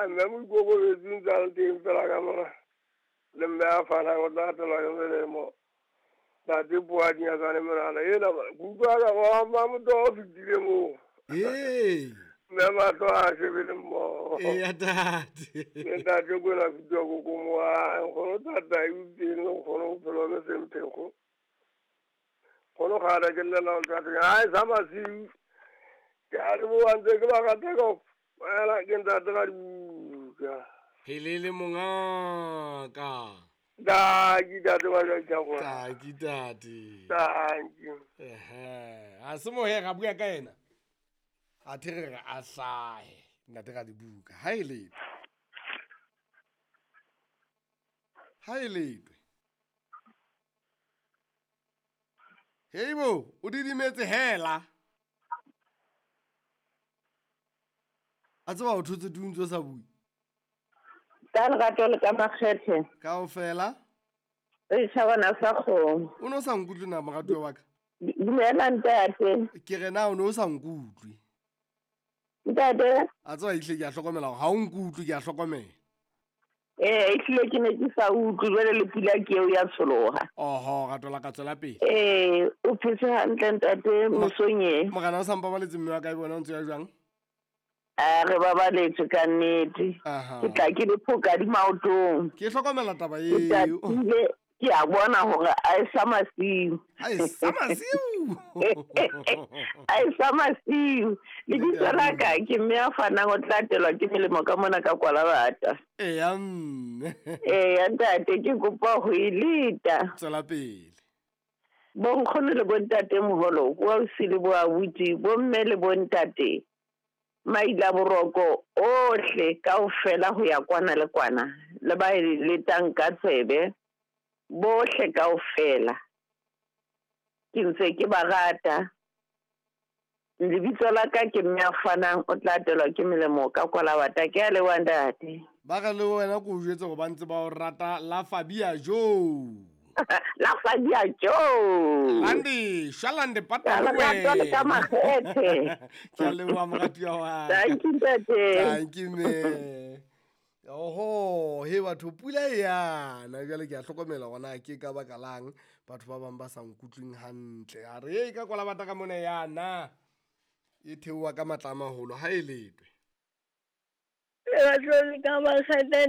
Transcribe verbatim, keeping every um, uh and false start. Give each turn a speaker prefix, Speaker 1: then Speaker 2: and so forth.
Speaker 1: Mme moikokobetsi ntse a le teng fela ka mona. Le mme a fanang o tla atelwa ke melemo. Ntate Poadi Nyakane monana ena ke utlwa ka ba motho o fetile moo.
Speaker 2: Ee.
Speaker 1: Mme mahlo a shebile mmoho.
Speaker 2: Eya tate.
Speaker 1: Le ntate Kwena Fitiwa Kokomo a nkgono thata e teng le nkgono bophelo bo semphekgo. Nkgono kgale ke llela ho ntate hae sa masiu. Ke a leboha ntse ke ba rata kaofela ke ntate ka dibuka.
Speaker 2: Helele mongaka.
Speaker 1: Tanki tate wa jwa
Speaker 2: Tanki tate.
Speaker 1: Tanki.
Speaker 2: Ehe, a se mohe ga bua ka ena. A there re a hlahe ntate ga dibuka. Ha e letwe. Ha e letwe. Heibo, o didimetse hela. A tseba o thotse tuntso sa bui.
Speaker 3: Ka lerato le ka makgethe.
Speaker 2: Kaofela.
Speaker 3: E tjhabana sa kgomo.
Speaker 2: O no sa nkutlwe na moratuwa wa ka?
Speaker 3: Dumela ntate.
Speaker 2: Ke re na o no sa nkutlwe.
Speaker 3: Ntate.
Speaker 2: A tseba ehlile ke a hlokomela hore ha o nkutlwe ke a hlokomela.
Speaker 3: Eh, ehlile ke ne ke sa utlwe jwale le pula ke eo ya tsholoha.
Speaker 2: Oho, rato la ka tswela pele.
Speaker 3: Eh, o phetse hantle ntate mosong e.
Speaker 2: Morena o sa mpabaletse mme wa ka e bona o ntse ya jwang?
Speaker 3: A re babaletswe ka nnete. Ke tla ke le phoka di maotong.
Speaker 2: Ke hlokomela taba eo.
Speaker 3: Ke a bona hore a e sa masiu.
Speaker 2: A e sa masiu.
Speaker 3: A e sa masiu. Lebitso la ka ke mme a fanang o tla atelwa ke melemo ka mona ka Kwalabata.
Speaker 2: Eya mme.
Speaker 3: Eya ntate ke kopa ho e leta.
Speaker 2: Tswela pele.
Speaker 3: Bonkgono le bontate moholo, bo ausi le bo abuti, bomme le bontate. Maila boroko ohle kaofela ho ya kwana le kwana le ba e letang ka tsebe bohle kaofela ke ntse ke ba rata. Lebitso la ka ke mme a fanang o tla atelwa ke melemo ka Kwalabata. Ke a leboha ntate.
Speaker 2: Ba re le wena ko o jwetse hore ba ntse ba o rata la Fabia Jo.
Speaker 3: La Fabia Jo.
Speaker 2: Landi, shalande pata
Speaker 3: we. Le ka makgethe.
Speaker 2: Ke a leboha moratuwa wa ka.
Speaker 3: Thank you ntate.
Speaker 2: Thank you mme. Oho, he batho pula e yana jwale ke a hlokomela hore na ke ka baka lang batho ba bang ba sa nkutlweng hantle. A re e ka Kwalabata ka mona yana e theoha ka matla a maholo ha e letwe.
Speaker 4: Lerato le ka makgethe.